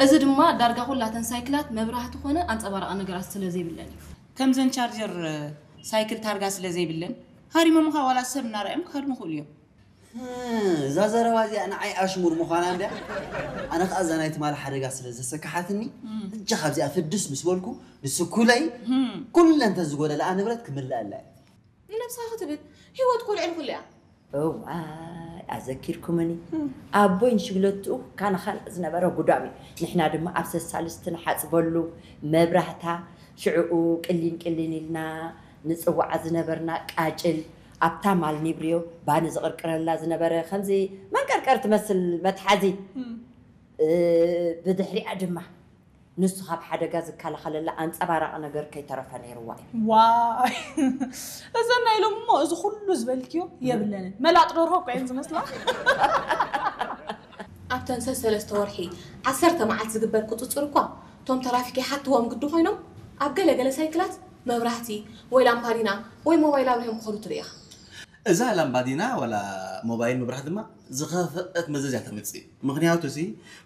እዚ ድማ ዳርጋ ኩላተን ሳይክላት መብራህቲ ኮነ ኣንጸባራቒ ነገራት ስለ ዘይብለን እዩ። ከምዘን ቻርጀር ሳይክል ታርጋ ስለ ዘይብለን ሃሪሞምኻ ዋላ ሰብ እናረኣዮም ክሃድሙ ይኽእሉ እዮም። እዛ ዘረባ እዚኣ ንዓይ ኣሽሙር ምዃና እንድያ። ኣነ ከዓ እዛ ናይ ትማሊ ሓደጋ ስለ ዘሰካሓትኒ እጃ ካብዚኣ ፍድስ ምስ በልኩ ንስኩለይ ኩለን ተዝጎደለኣ ንብረት ክምልኣላ እየ። ንነብስኻ ክትብል ህይወት እኮ ልዕሊ ኩሉ እያ። እዋይ ኣዘኪርኩምኒ ኣቦይ ንሽግለትኡ ካናኻን ዝነበረ ጉዳም እዩ። ንሕና ድማ ኣብ ሰሳልስቲ ንሓፅበሉ መብራህታ ሽዕኡ ቅሊን ቅሊን ኢልና ንፅውዓ ዝነበርና ቃጭል ኣብታ ማል ኒብርዮ ባኒ ዝቕርቅረላ ዝነበረ ከምዚ መንቀርቀር ትመስል መትሓዚ ብድሕሪኣ ድማ ንሱ ካብ ሓደጋ ዝከላኸለላ ኣንፀባራቒ ነገር ከይተረፈ ነይርዋ እዩ። ዋይ እዘን ናይ ሎሚ እሞ እዚ ኩሉ ዝበልክዮ የብለንን መላጥ ደርሆ እኮ እየን ዝመስላ። ኣብተን ሰሰለስተ ወርሒ ዓሰርተ መዓልቲ ዝግበር ቁፅፅር እኳ እቶም ተራፊክ ይሓትዎም ግዲ ኮይኖም ኣብ ገለ ገለ ሳይክላት መብራህቲ ወይ ላምፓዲና ወይ ሞባይል ኣብሪሆም ክኸዱ ትርኢ ኢኻ። እዛ ላምባዲና ዋላ ሞባይል ምብራህ ድማ ዝኸፍአት መዘዝ እያ ተምፅእ። ምኽንያቱ ሲ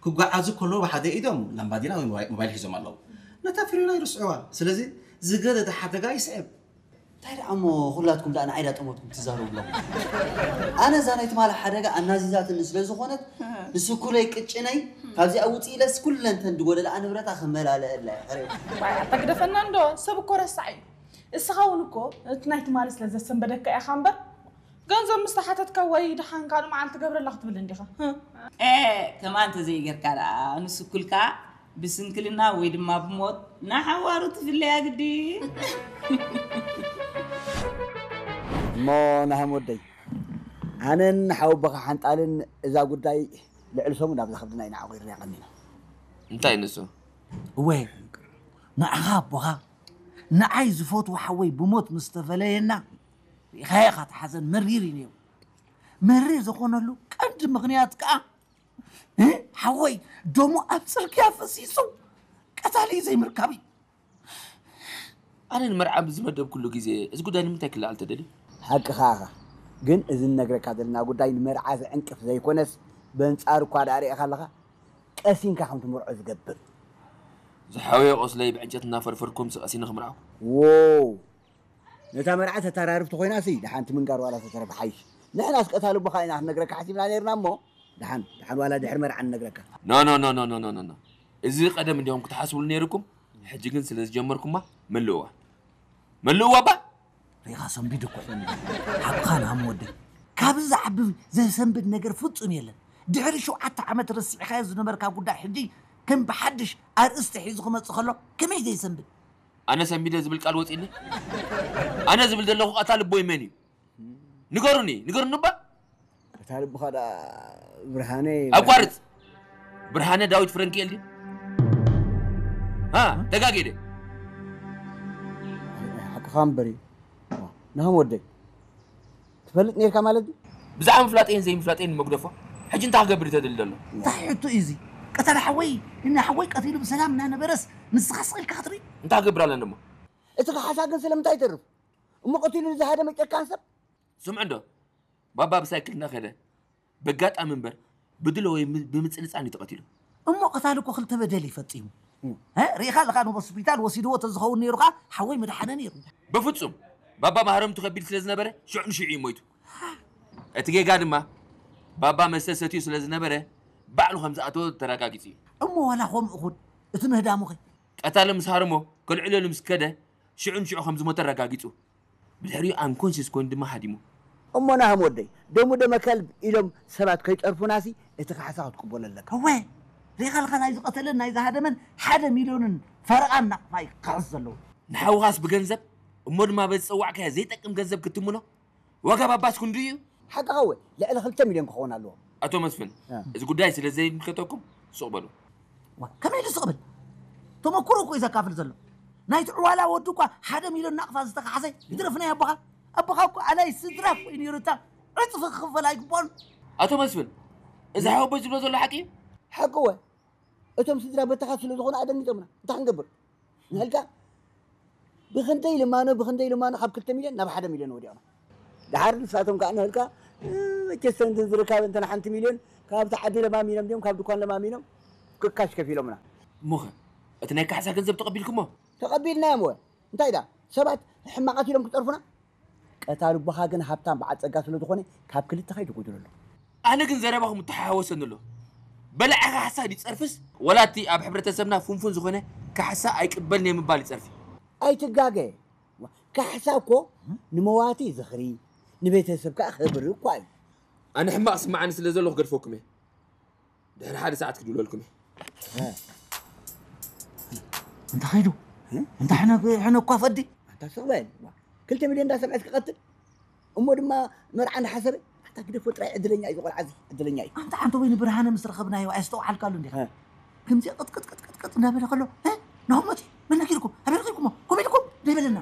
ክጓዓዙ ከለዉ ብሓደ ኢዶም ላምባዲና ወይ ሞባይል ሒዞም ኣለዉ። ነታ ፍሬና ይርስዕዋ። ስለዚ ዝገደደ ሓደጋ ይስዕብ። እንታይ ደኣ እሞ ኩላትኩም ደኣ ንዓይ ዳ ጠመትኩም ትዛረቡ ኣለኹም? ኣነ እዛ ናይ ትማሊ ሓደጋ ኣናዚዛትኒ ስለ ዝኾነት ንስኩለይ ቅጭነይ ካብዚኣ ውፅእ ኢለስ ኩለንተን ዝጎደለኣ ንብረታ ክመላለአላ እየ። ሕሬ። ዋይ ኣታ ግደፈና እንዶ ሰብ እኮ ረሳዕ እዩ። እስኻ እውን እኮ እቲ ናይ ትማሊ ስለ ዘሰንበደካ ኢኻ እምበር ገንዘብ ምስ ተሓተትካ ወይ ደሓን ካልእ መዓልቲ ገብረላ ክትብል እንዲኻ። እ። ኤእ ከምኣ እንተዘይገርካ ደኣ ንስኩልካ ብስንክልና ወይ ድማ ብሞት ንሓዋሩ ትፍለያ ግዲ። እሞ ናህም ወደይ ኣነን ሓወቦኻ ሓንጣልን እዛ ጉዳይ ልዕሊ ሰሙን ኣብዛ ከብድና ኢና ዓቑርናያ ቀኒና። እንታይ ንሱ? እወ ንዓኻ ኣቦኻ ንዓይ ዝፈትዎ ሓወይ ብሞት ምስ ተፈለየና ርኢኻዮ ኢኻ እቲ ሓዘን መሪር እዩ ነይሩ። መሪር ዝኾነሉ ቀንዲ ምኽንያት ከኣ ሓወይ ደሙ ኣብ ጽርግያ ፈሲሱ ቀታሊ ዘይምርካብ እዩ። ኣነ ንመርዓ ብዝመደብኩሉ ግዜ እዚ ጉዳይ ንምንታይ ክለዓል ተደልዩ? ሓቅኻ ኢኻ፣ ግን እዚ ንነግረካ ዘለና ጉዳይ ንመርዓ ዘዕንቅፍ ዘይኮነስ በንጻሩ እኳ ደኣ ርኢኻ ኣለኻ ቀሲንካ ከም ትምርዖ ዝገብር። ዝሓወየ ቁስለይ ብዕንጨት እናፈርፈርኩምሲ ቀሲነ ክምርዓኩም? ዎው ነታ መርዓ ተተራርፍ ተኾይናሲ ደሓን እቲ ምንጋር ዋላ ተተረፈ ሓይሽ። ንሕናስ ቀታሊ ኣቦኻ ኢና ክንነግረካ ሓሲብና ነይርና እሞ ደሓን ደሓን ዋላ ድሕሪ መርዓ ንነግረካ። No no no no no no no no እዚ ቀደም እንዲኹም ክትሓስብሉ ነይርኩም ሕጂ ግን ስለ ዝጀመርኩማ መለእዋ መለእዋ እባ። ሪኢኻ ሰንቢዱ እኮ እዩ። ሓቅኻ ንሃም ወደይ። ካብዚ ዝዓቢ ዘሰንብድ ነገር ፍጹም የለን። ድሕሪ ሸውዓተ ዓመት ረሲዕኻዮ ዝነበርካ ጉዳይ ሕጂ ከም ብሓድሽ ኣርእስቲ ሒዙ ክመጽእ ከሎ ከመይ ዘየሰንብድ? ኣነ ሰንቢደ ዝብል ቃል ወጺእኒ? ኣነ ዝብል ዘለኹ ቀታሊ ኣቦይ መን እዩ? ንገሩኒ ንገሩኒ እባ። ቀታሊ ኣቦኻ ደኣ ብርሃነ ይበሃል። ኣቋርጽ! ብርሃነ ዳዊት ፍረንኪኤል ድዩ? ሃ ተጋግየ ድየ? ሓቅኻ እምበር እዩ። ናሆም ወደይ ትፈልጥ ነይርካ ማለት ድዩ? ብዛዕባ ምፍላጠይን ዘይምፍላጠይን ንመጉደፎ ሕጂ እንታይ ክገብር እዩ ተደሊ ዘሎ? እንታይ ሕቶ እዩ እዚ? ቀታሊ ሓወይ ንሓወይ ቀቲሉ ብሰላም እናነበረስ ንስኻ ስቕ ኢልካ ክትርኢ? እንታይ ክገብር ኣለኒ እሞ? እቲ ካሕሳ ግን ስለምንታይ ይተርፍ? እሞ ቀቲሉ ንዝሃደመ ጨካን ሰብ? ስምዑ እንዶ ባባ ብሳይክል እናኸደ በጋጣሚ እምበር ብድሎ ወይ ብምፅንፃን እዩ ተቐቲሉ። እሞ ቀታሊ እኮ ክልተ በደል እዩ ፈፂሙ። እ ርኢኻ ኣለኻ ንሆስፒታል ወሲድዎ ተዝኸውን ነይሩ ኸዓ ሓወይ ምድሓነ ነይሩ። በፍፁም ባባ ማህረምቱ ከቢድ ስለዝነበረ ሽዑ ንሽዑ እዩ ሞይቱ። እቲ ጌጋ ድማ ባባ መስተ ሰትዩ ስለዝነበረ ባዕሉ ከምዝኣተወ ተረጋጊፁ እዩ። እሞ ዋላ ከምኡ ኹን እቲ ምህዳሙኸ? ቀታሊ ምስ ሃረሞ ከልዕለሉ ምስ ከደ ሽዑ ንሽዑ ከምዝሞተ ኣረጋጊፁ። ብድሕሪኡ ኣንኮንሽስ ኮይኑ ድማ ሃዲሙ። እሞ ናህም ወደይ ደሙ ደመ ከልብ ኢሎም ሰባት ከይፀርፉናሲ እቲ ካሕሳ ክትቅበሎ ኣለካ። እወ ሪኢኻ ኣለኻ ናይ ዝቐተለን ናይ ዝሃደመን ሓደ ሚልዮንን ፈረቓን ናቕፋ እዩ ክኽሕስ ዘለዎ። ንሓውኻስ ብገንዘብ እሞ ድማ በዚ ዝፀዋዕካዮ ዘይጠቅም ገንዘብ ክትምኖ ዋጋ ባባስ ክንድኡ እዩ። ሓቅኻ እወ ልዕሊ ክልተ ሚልዮን ክኸውን ኣለዎ። ኣቶ መስፍን እዚ ጉዳይ ስለ ዘይምልከተኩም ሱቕ በሉ። ከመይ ኢሉ ስቕ ብል? ተመኩሮ እኮ እዩ ዘካፍል ዘሎ። ናይቲ ዕዋላ ወዱ እኳ ሓደ ሚልዮን ናቕፋ ዝተኻሕሰ ይትረፍ ናይ ኣቦኻ። ኣቦኻ እኮ ኣላይ ስድራ እኮ እዩ ነይሩ እታ ዕፅፊ ክኽፈል ኣይግብኦን። ኣቶ መስፍን እዚ ሓወቦይ ዝብሎ ዘሎ ሓቂ እዩ? ሓቂ እወ እቶም ስድራ በተኻ ስለ ዝኾኑ ኣደንጊፆምና እንታይ ክንገብር? ንህልካ ብኽንደይ ልማኖ ብኽንደይ ልማኖ ካብ ክልተ ሚልዮን ናብ ሓደ ሚልዮን ወዲቕና። ደሓር ንሳቶም ከዓ ንህልካ መቸስ ተንትን ዝርካብ እንተን ሓንቲ ሚልዮን ካብቲ ዓዲ ለማሚኖም ድዮም ካብ ድኳን ለማሚኖም ክካሽ ከፊሎምና። እሞኸ እቲ ናይ ካሕሳ ገንዘብ ተቐቢልኩሞ? ተቐቢልናዮም ወ እንታይ ዳ ሰባት ሕማቓት ኢሎም ክፀርፉና? ቀታሊ ኣቦኻ ግን ሃብታም በዓል ፀጋ ስለ ዝኾነ ካብ ክልተ ከይትጎድለሉ። ኣነ ግን ዘረባኹም እተሓዋወሰኒ ኣሎ። በላዒ ካሕሳ ድዩ ፀርፍስ ወላ እቲ ኣብ ሕብረተሰብና ፍንፉን ዝኾነ ካሕሳ ኣይቅበልን እየ ምባል ይፀርፊ? ኣይትጋገ። ካሕሳ እኮ ንመዋቲ ዝኽሪ ንቤተሰብ ከዓ ክብሪ እኳ እዩ። ኣነ ሕማቕ ስምዓኒ ስለ ዘሎ ክገድፈኩም እየ። ድሕሪ ሓደ ሰዓት ክድውለልኩም እየ። እንተ ኸይዱ እንተ ሕነ ሕነ እኳ ፈዲ ኣንታ ስቕ በል። ክልተ ሚልዮን እንዳሰምዐ ክቐትል እሞ ድማ መርዓ እንዳሓሰበ ኣንታ ግደፎ ጥራይ ዕድለኛ እዩ ቆልዓ እዚ ዕድለኛ እዩ። ኣንታ ሓንቲ ወይ ንብርሃነ ምስ ረኸብናዮ ኣየስተውዓልካሉ እንዲኻ ከምዚ ቅጥቅጥቅጥቅጥ እንዳበለ ከሎ ናኹሞቲ መነኪርኩም ኣበይ ረኺብኩሞ ኮሚድኩም ደይበለና